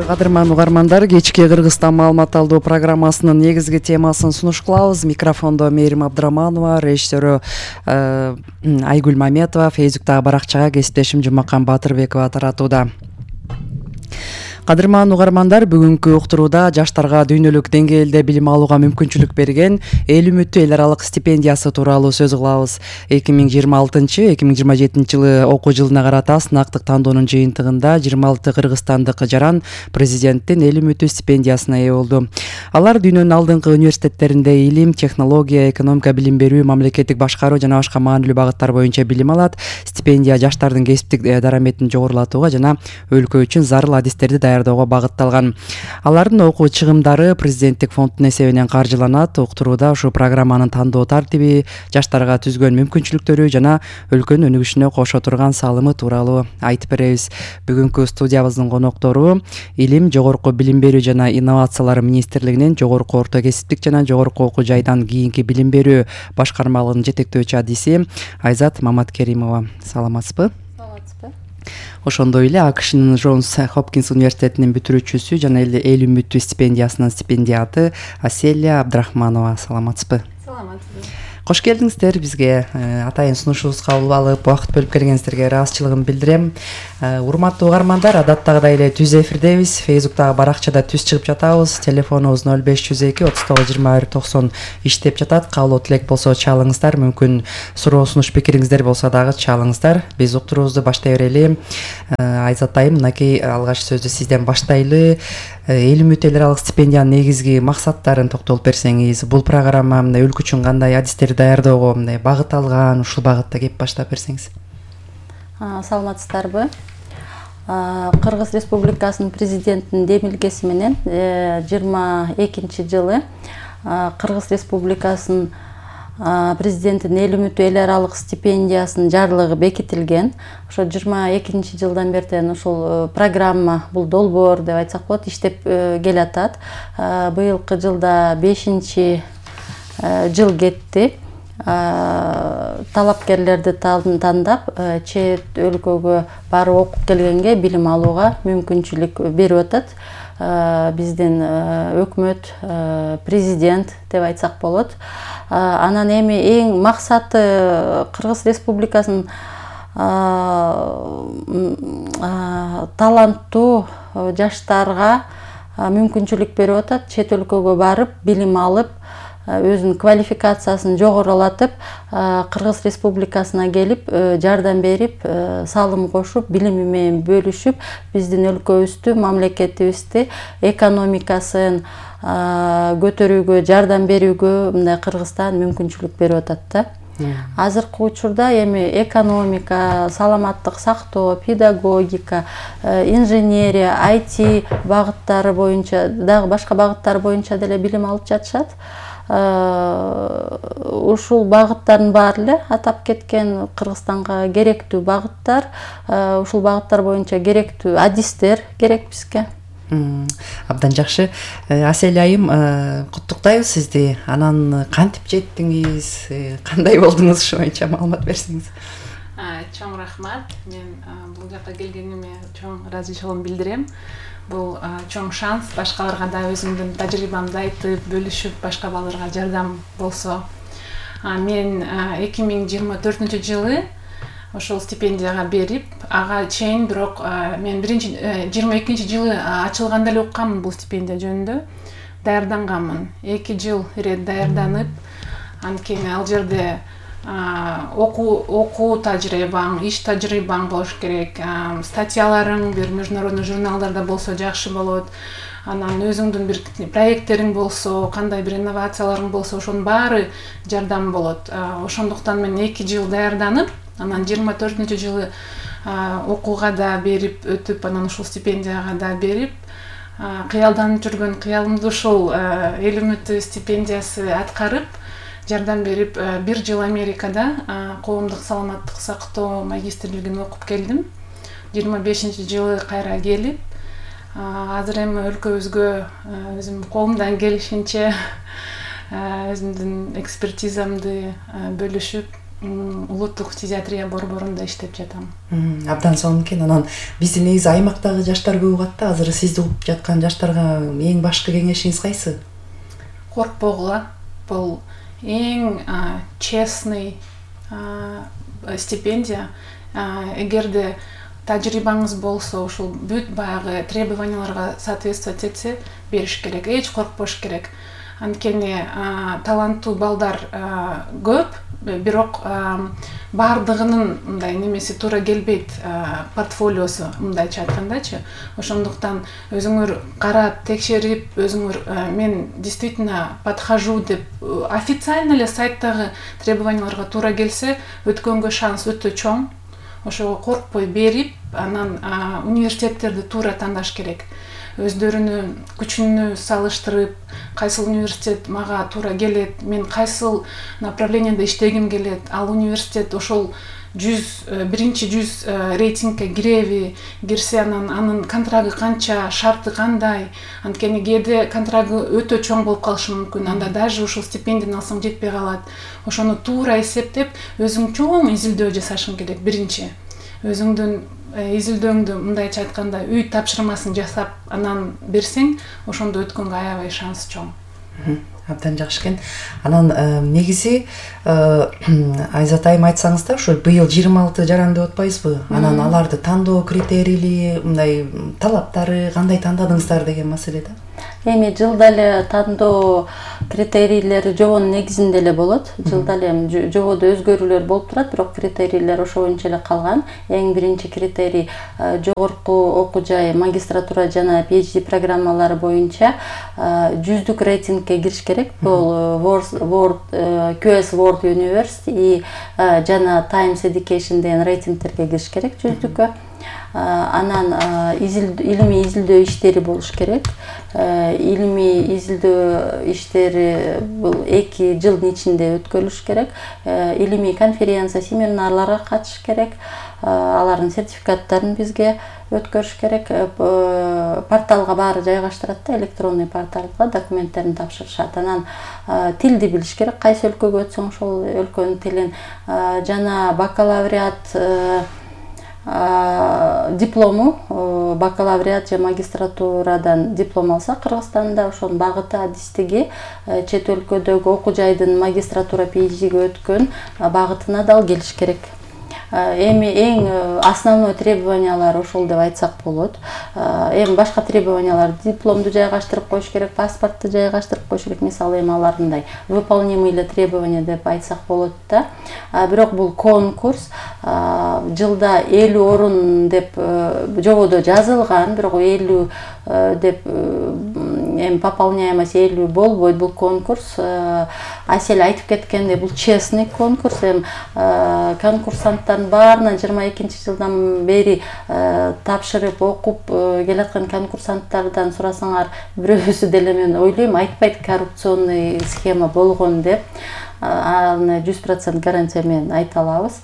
Кадырман угармандар, кечки Кыргызстан маалымат алуу программасынын негизги темасын сунуш кылабыз. Микрофондо Мээрим Абдыраманова, режиссеру Айгүл Маметова, Фейсбуктагы баракчага кесиптешим Жумакан Батырбекова таратууда. Кадырман угармандар, бүгүнкү уктурууда жаштарга дүйнөлүк деңгээлде билим алууга мүмкүнчүлүк берген эл үмүттүү эл аралык стипендиясы тууралуу сөз кылабыз. 2026-2027 жылы окуу жылына карата сынактык тандоонун жыйынтыгында 26 кыргызстандык жаран президенттин эл үмүттүү стипендиясына ээ болду. Алар дүйнөнүн алдыңкы университеттеринде илим, технология, экономика билим берүү, мамлекеттик башкаруу жана башка маанилүү багыттар боюнча билим алат. Стипендия жаштардын кесиптик дараметин жогорулатууга жана өлкө үчүн зарыл адистерди даярдоого багытталган. Алардын окуу чыгымдары президенттик фонддун эсебинен каржыланат. Уктурууда ушул программанын тандоо тартиби, жаштарга түзгөн мүмкүнчүлүктөрү жана өлкөнүн өнүгүшүнө кошо турган салымы тууралуу айтып беребиз. Бүгүнкү студиябыздын коноктору Илим, жогорку билим берүү жана инновациялар министрлигинин жогорку орто кесиптик жана жогорку окуу жайдан кийинки билим берүү башкармалыгынын жетектөөчү адиси Айзат Маматкеримова. Саламатсызбы? Ошондой эле АКШнын Джонс Хопкинс университетинин бүтүрүүчүсү жана эл үмүттүү стипендиясынын стипендиаты Аселия Абдрахманова. Саламатсызбы? Саламатсызбы. Кош келдиңиздер бизге. Атайын сунушубузга кабыл алып, убакыт бөлүп келгениңиздерге ыраазычылыгымды билдирем. Урматтуу угармандар, адаттагыдай эле түз эфирдебиз. Фейсбуктагы баракчада түз чыгып жатабыз. Телефонубуз 0502 39 21 90 иштеп жатат. Каалоо тилек болсо чалыңыздар. Мүмкүн суроо, сунуш, пикириңиздер болсо дагы чалыңыздар. Биз уктуруубузду баштай берели. Айзат айым, мынакей алгач сөздү сизден баштайлы. Эл үмүттүү эл аралык стипендиянын негизги максаттарын токтолуп берсеңиз, бул программа өлкө үчүн кандай адистерди даярдоого багыт алган, ушул багытта кеп баштап берсеңиз. Саламатсыздарбы? Кыргыз Республикасынын президентинин демилгеси менен 22 жылы Кыргыз Республикасынын президенттин эл үмүттүү эл аралык стипендиясынын жарлыгы бекитилген. Ошо 22 жылдан бертен ушул программа, бул долбоор деп айтсак болот, иштеп келатат. Быйылкы жылда 5 жыл кетти. Талапкерлерди тандап, чет өлкөгө барып окуп келгенге билим алууга мүмкүнчүлүк берип атат. Биздин өкмөт, президент деп айтсак болот. Анан эми эң максаты Кыргыз Республикасынын таланттуу жаштарга мүмкүнчүлүк берип атат. Чет өлкөгө барып, билим алып, өзүнүн квалификациясын жогорулатып, Кыргыз Республикасына келип, жардам берип, салым кошуп, билими менен бөлүшүп, биздин өлкөбүздү, мамлекетибизди, экономикасын көтөрүүгө, жардам берүүгө мындай Кыргызстан мүмкүнчүлүк берип атат да. Азыркы учурда эми экономика, саламаттык сактоо, педагогика, инженерия, IT багыттары боюнча, дагы башка багыттар боюнча деле билим алып жатышат. Ушул багыттардын баары эле атап кеткен Кыргызстанга керектүү багыттар, ушул багыттар боюнча керектүү адистер керек бизге. Абдан жакшы. Аселия айым, куттуктайбыз сизди. Анан кантип жеттиңиз, кандай болдуңуз, ушу боюнча маалымат берсеңиз. Чоң рахмат. Мен бул жакка келгениме чоң ыраазычылыгымды билдирем. Бул чоң шанс, башкаларга да өзүмдүн тажрыйбамды айтып, бөлүшүп, башка балдарга жардам болсо. Мен 2024 жылы ошол стипендияга берип, ага чейин бирок мен 22 жылы ачылганда эле укканмын бул стипендия жөнүндө. Даярданганмын. 2 жыл ирет даярданып, анткени ал жерде окуу тажрыйбаң, иш тажрыйбаң болуш керек. Статьяларың бир международный журналдарда болсо жакшы болот. Анан өзүңдүн бир проекттериң болсо, кандай бир инновацияларың болсо, ошонун баары жардам болот. Ошондуктан мен 2 жыл даярданып, анан 24 жылы окууга да берип өтүп, анан ушул стипендияга да берип, кыялданып жүргөн кыялымды ушул эл үмүттүү стипендиясы аткарып, жардам берип, 1 жыл Америкада коомдук саламаттык сактоо магистрлигин окуп келдим. 25 жылы кайра келип, азыр эми өлкөбүзгө өзүм колумдан келишинче өзүмдүн экспертизамды бөлүшүп, улуттук фтизиатрия борборунда иштеп жатам. Абдан сонун экен. Анан биздин негизи аймактагы жаштар көп угат да. Азыр сизди угуп жаткан жаштарга эң башкы кеңешиңиз кайсы? Коркпогула. Бул эң честный стипендия. Эгерде тажрыйбаңыз болсо, ушул бүт баягы требованияларга соответствовать этсе, бериш керек. Эч коркпош керек. Анткени таланттуу балдар көп, бирок бардыгынын мындай немеси туура келбейт, портфолиосу мындайча айткандачы. Ошондуктан өзүңөр карап, текшерип, өзүңөр мен действительно подхожу деп официально эле сайттагы требованияларга туура келсе, өткөнгө шанс өтө чоң. Ошого коркпой берип, анан университеттерди туура тандаш керек. Өздөрүнүн күчүнү салыштырып, кайсыл университет мага туура келет, мен кайсыл направленияда иштегим келет, ал университет ошол 100 рейтингке киреби, кирсе анын контрагы канча, шарты кандай. Анткени кээде контрагы өтө чоң болуп калышы мүмкүн, анда даже ушул стипендияны алсаң жетпей калат. Ошону туура эсептеп, өзүң чоң изилдөө жасашың керек биринчи. Өзүңдүн изилдөөңдү мындайча айтканда үй тапшырмасын жасап, анан берсең, ошондо өткөнгө аябай шанс чоң. Абдан жакшы экен. Анан негизи Айзат айым айтсаңыз да, ошо быйыл 26 жаран деп атпайсызбы? Анан аларды тандоо критерийли, мындай талаптары кандай тандадыңыздар деген маселе да. Эми жылда эле тандоо критерийлери жобонун негизинде эле болот. Жылда эле жободо өзгөрүүлөр болуп турат, бирок критерийлер ошо боюнча эле калган. Эң биринчи критерий жогорку окуу жай, магистратура жана PhD программалары боюнча 100 рейтингке кириш керек. Бул QS World University жана Times Education деген рейтингтерге кириш керек 100-кө. Анан илимий изилдөө иштери болуш керек. Илимий изилдөө иштери бул 2 жылдын ичинде өткөрүлүш керек. Илимий конференция, семинарларга катышыш керек. Алардын сертификаттарын бизге өткөрүш керек. Порталга баары жайгаштырат да, электронный порталга документтерин тапшырышат. Анан тилди билиш керек. Кайсы өлкөгө өтсөң ошол өлкөнүн тилин жана бакалавриат диплому, бакалавриат же магистратурадан диплом алса Кыргызстанда, ошонун багыты, адистиги чет өлкөдөгү окуу жайдын магистратура PhD'ге өткөн багытына дал келиш керек. Эми эң основной требованиялар ошол деп айтсак болот. Эми башка требованиялар дипломду жайгаштырып коюш керек, паспортту жайгаштырып коюш керек. Мисалы эми аларындай выполнимый эле требования деп айтсак болот да. Бирок бул конкурс жылда 50 орун деп жободо жазылган, бирок 50 деп эми пополняемость 50 болбойт. Бул конкурс Асель айтып кеткендей, бул честный конкурс. Эми конкурсанттардын баарына 22-жылдан бери тапшырып окуп келаткан конкурсанттардан сурасаңар, бирөөсү деле мен ойлойм айтпайт коррупционный схема болгон деп. Аны 100% гарантия менен айта алабыз.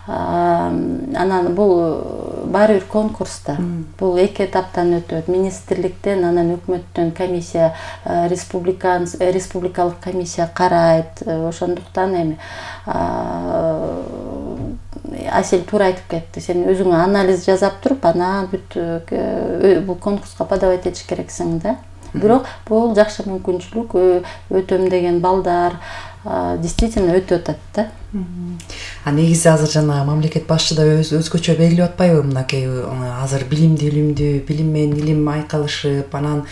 Анан бул баары бир конкурста. Бул 2 этаптан өтөт. Министрликтен, анан өкмөттөн комиссия, республикалык комиссия карайт. Ошондуктан эми Асель туура айтып кетти. Сен өзүң анализ жасап туруп, анан бүт бул конкурска подавать этиш керексиң да. Бирок бул жакшы мүмкүнчүлүк, өтөм деген балдар действительно өтүп атат да. Негизи азыр жана мамлекет башчы да өзгөчө белгилеп атпайбы, мынакей азыр билимдүүлүмдү, билим менен илим айкалышып, анан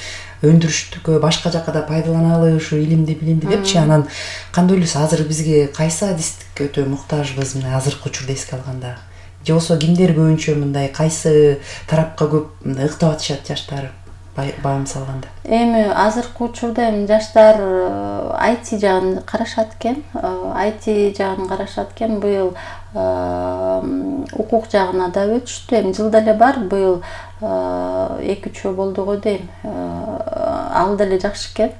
өндүрүштүккө башка жакка да пайдаланалы ушу илимди, билимди депчи. Анан кандай ойлойсуз, азыр бизге кайсы адистик өтө муктажбыз мына азыркы учурда эске алганда? Же болбосо кимдер көбүнчө мындай кайсы тарапка көп ыктап атышат жаштар? Баам салганда. Эми азыркы учурда жаштар IT жагын карашат экен. IT жагын карашат экен. Быйыл укук жагына да өтүштү. Эми жылда эле бар, быйыл 2-3 болду го дейм. Ал деле жакшы экен.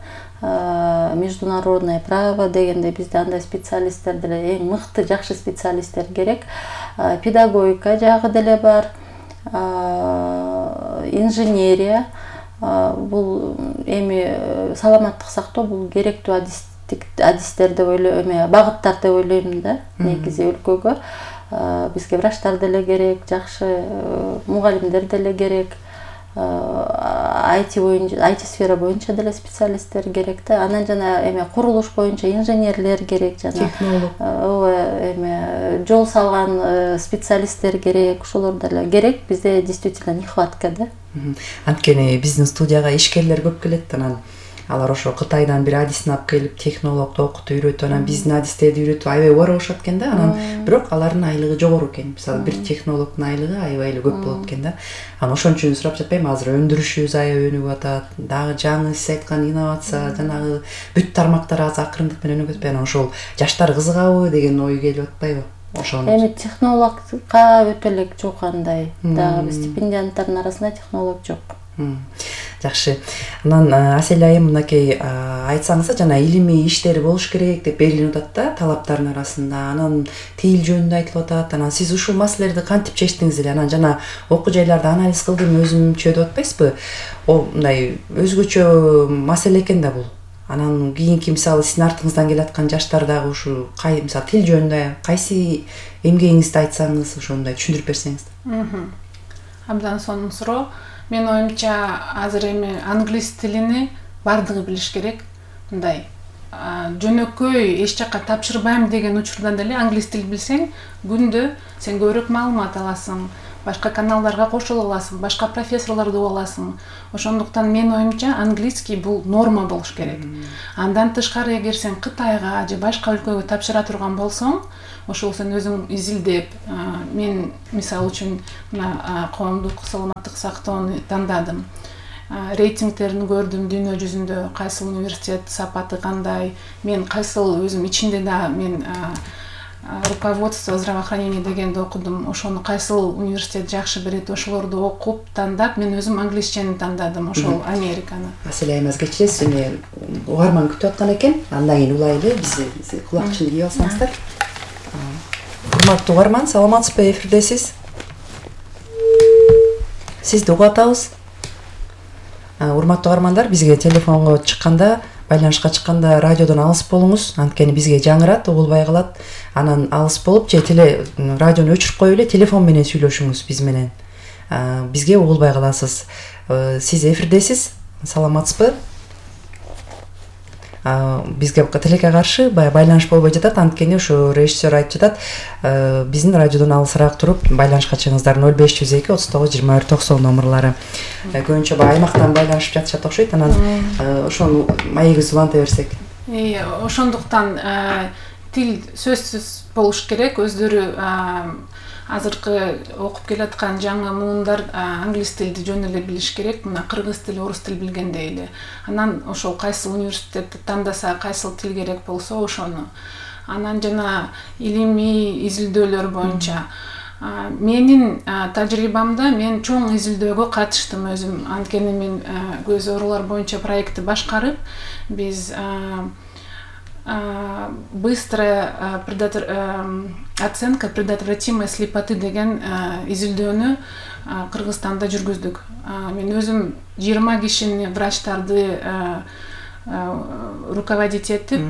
Международное право дегенде бизде андай специалисттер деле, эң мыкты жакшы специалисттер керек. Педагогика жагы деле бар. Инженерия. Бул эми саламаттык сактоо бул керектүү практиктик адистер деп ойлойм, багыттар деп ойлойм да. Негизи өлкөгө бизге врачтар деле керек, жакшы мугалимдер деле керек. IT сфера боюнча деле специалисттер керек да. Анан жана курулуш боюнча инженерлер керек, жана жол салган специалисттер керек, ошолор деле керек. Бизде действительно нехватка да. Анткени биздин студияга ишкерлер көп келет, анан алар ошо Кытайдан бир адисин алып келип, технологду окутуп үйрөтүп, анан биздин адистерди үйрөтүп аябай убара болушат экен да. Анан бирок алардын айлыгы жогору экен. Мисалы бир технологдун айлыгы аябай эле көп болот экен да. Анан ошон үчүн сурап жатпайм, азыр өндүрүшүбүз аябай өнүгүп атат. Дагы жаңы сиз айткан инновация, жанагы бүт тармактар азыр акырындык менен өнүгүп атпайбы? Анан ошол жаштар кызыгабы деген ой келип атпайбы? Технологга өтө эле жок андай. Дагы стипендианттардын арасында технолог жок. Жакшы. Анан Асель айым мынакей айтсаңыз, жана илимий иштери болуш керек деп берилип атат да талаптардын арасында. Анан тил жөнүндө айтылып атат. Анан сиз ушул маселелерди кантип чечтиңиз эле? Анан жана окуу жайларды анализ кылдым өзүмчө деп атпайсызбы? Мындай өзгөчө маселе экен да бул. Анан кийинки мисалы сиздин артыңыздан келаткан жаштар дагы ушу мисалы тил жөнүндө кайсы эмгегиңизди айтсаңыз, ошондой түшүндүрүп берсеңиз. Абдан сонун суроо. Мен оюмча азыр англис тилини бардыгы билиш керек. Мындай жөнөкөй эч жакка тапшырбайм деген учурда деле англис тил билсең, күндө сен көбүрөөк маалымат аласың, башка каналдарга кошула аласың, башка профессорлорду уга аласың. Ошондуктан мен оюмча английский бул норма болуш керек. Андан тышкары эгер сен Кытайга же башка өлкөгө тапшыра турган болсоң, ошол сен өзүң изилдеп, мен мисалы үчүн мына коомдук саламаттык сактоону тандадым. Рейтингтерин көрдүм дүйнө жүзүндө, кайсыл университет сапаты кандай, мен кайсыл өзүм ичинде да мен руководство здравоохранения дегенди окудум. Ошону кайсыл университет жакшы берет, ошолорду окуп тандап, мен өзүм англисчени тандадым, ошол Американы. Асель айымыз кечиресиз, эми угарман күтүп аткан экен. Андан кийин улайлы, биз кулакчыны кийип алсаңыздар. Урматтуу угарман, саламатсызбы? Эфирдесиз. Сизди угуп атабыз. Урматтуу угармандар, бизге телефонго чыкканда, байланышка чыкканда радиодон алыс болуңуз, анткени бизге жаңырат, угулбай калат. Анан алыс болуп, же радиону өчүрүп коюп эле телефон менен сүйлөшүңүз биз менен. Бизге угулбай каласыз. Сиз эфирдесиз. Саламатсызбы? Бизге тилекке каршы байланыш болбой жатат, анткени ошо режиссер айтып жатат, биздин радиодон алысыраак туруп байланышка чыгыңыздар. 0502 39 24 90 номерлары. Көбүнчө аймактан байланышып жатышат окшойт. Анан ошону маегибизди уланта берсек. Ошондуктан тил сөзсүз болуш керек. Өздөрү азыркы окуп келаткан жаңы муундар англис тилди жөн эле билиш керек. Мына кыргыз тили, орус тил билгендей эле. Анан ошол кайсыл университетти тандаса, кайсыл тил керек болсо ошону. Анан жана илимий изилдөөлөр боюнча менин тажрыйбамда мен чоң изилдөөгө катыштым өзүм. Анткени мен көз оорулар боюнча проектти башкарып, биз быстрая оценка предотвратимой слепоты деген изилдөөнү Кыргызстанда жүргүздүк. Мен өзүм 20 кишини врачтарды руководить этип,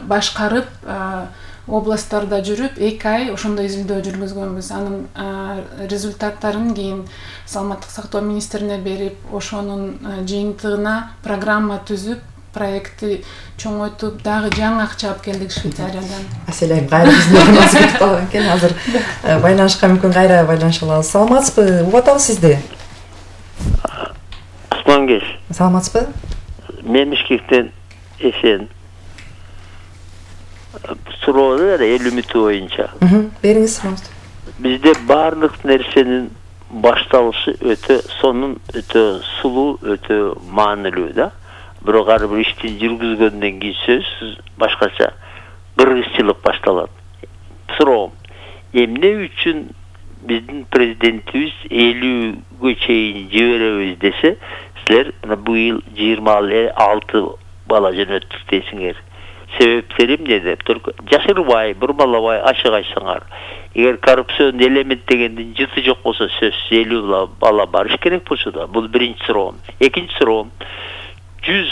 башкарып, областтарда жүрүп 2 ай ошондой изилдөө жүргүзгөнбүз. Анын результаттарын кийин саламаттык сактоо министрине берип, ошонун жыйынтыгына программа түзүп, проектти чоңойтуп, дагы жаңы акча алып келдик Швейцариядан. Асель айым кайра биздин ордубузга кетип калган экен. Азыр байланышка мүмкүн кайра байланыша алабыз. Саламатсызбы? Угуп атабыз сизди. Асмангеш. Саламатсызбы? Мен Бишкектен эсен. Суроону эл үмүтү боюнча. Бериңиз сурооңузду. Бизде баардык нерсенин башталышы сонун өтө сулуу, өтө маанилүү да. Бирок ар бир ишти жүргүзгөндөн кийин сөзсүз башкача кыргызчылык башталат. Суроом, эмне үчүн биздин президентибиз 50ге чейин жиберебиз десе, силер быйыл 26 бала жөнөттүк дейсиңер. Себептери эмне деп жашырбай, бурмалабай ачык айтсаңар. Эгер коррупцион элемент дегендин жыты жок болсо, сөзсүз 50 бала барыш керек болчу да. Бул биринчи суроом. Экинчи суроом, 100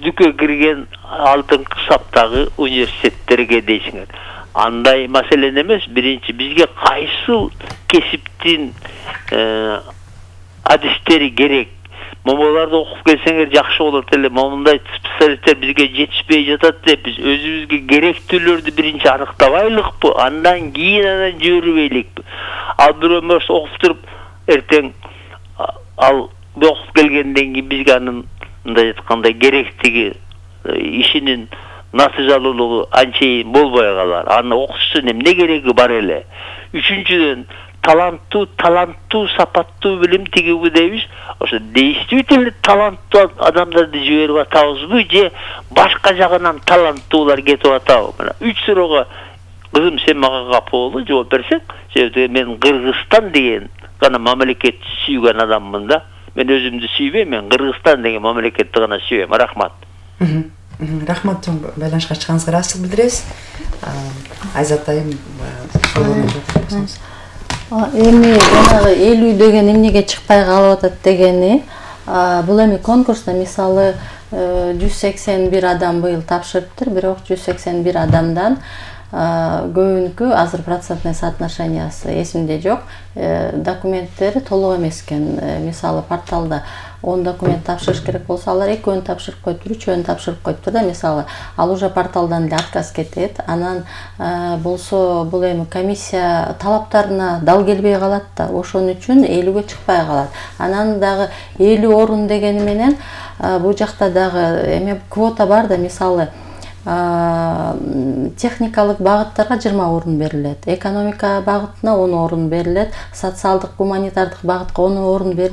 дүкө кирген алдыңкы саптагы университеттерге дейсиңер. Андай маселе эмес. Биринчи бизге кайсыл кесиптин адистери керек? Момоларды окуп келсеңер жакшы болот эле. Момундай специалисттер бизге жетишпей жатат деп биз өзүбүзгө керектүүлөрдү биринчи аныктабайлыкпы, андан кийин жибербейликпи? Ал бирөө мырс окуп туруп эртең ал окуп келгенден кийин бизге анын мындай айтканда керектиги, ишинин натыйжалуулугу анчейин болбой калар. Аны окутуштун эмне кереги бар эле? Үчүнчүдөн таланттуу, сапаттуу билим тигиби дейбиз. Ошо действительно таланттуу адамдарды жиберип атабызбы же башка жагынан таланттуулар кетип атабы? Мына 3 суроого кызым сен мага капа боло жооп берсең, себеби мен Кыргызстан деген гана мамлекетти сүйгөн адаммын да. Мен өзүмдү сүйбөйм, мен Кыргызстан деген мамлекетти гана сүйөм. Рахмат. Рахмат, чоң байланышка чыкканыңызга ыраазычылык билдиребиз. Айзат айым эми жанагы 50 деген эмнеге чыкпай калып атат дегени, бул эми конкурста мисалы 181 адам быйыл тапшырыптыр, бирок 181 адамдан көбүнкү азыр процентный соотношениясы эсимде жок, документтери толук эмес экен. Мисалы порталда 10 документ тапшырыш керек болсо, алар 2-өн тапшырып коюптур, 3-өн тапшырып коюптур да, мисалы. Ал уже порталдан эле отказ кетет. Анан болсо бул эми комиссия талаптарына дал келбей калат да, ошон үчүн 50ге чыкпай калат. Анан дагы 50 орун дегени менен бул жакта дагы эме квота бар да, мисалы техникалык багыттарга 20 орун берилет, экономика багытына 10 орун берилет, социалдык гуманитардык багытка 10 орун берилет.